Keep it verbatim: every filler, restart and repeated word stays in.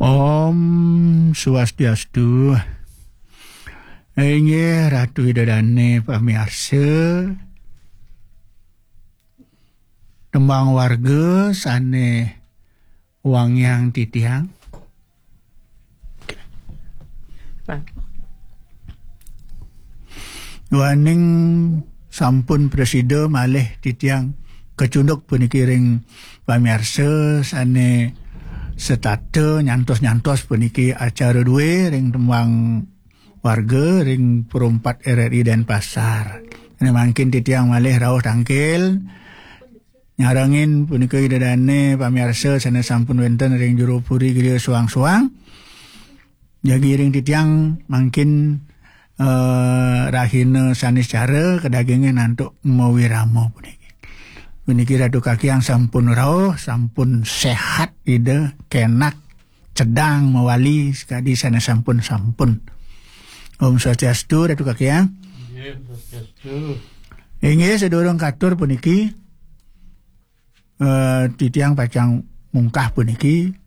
Om Swastiastu. Inggih Ratu Ida Dane pamiarsa. Tembang warga sane wangiang titiang. Duaning sampun prasida malih titiang kacunduk puniki ring pamiarsa sane setata nyantos-nyantos puniki acara due ring tembang warga ring Pro empat R R I Denpasar. Ane mangkin titiang malih rauh tangkil nyarengin punika Ida Dane pamiarsa sane sampun wenten ring jero puri griya suang-suang. Jagi ring titiang mangkin eh, rahina Saniscara kadagingin antuk mawirama puniki. Puniki Ratu Kakiang sampun rauh, sampun sehat Ida, kenak, cedang mawali sakadi sane sampun-sampun. Om Swastiastu, Ratu Kakiang. Inggih, Swastiastu. Inggih, sadurung katur puniki, eh, titiang pacang mungkah puniki,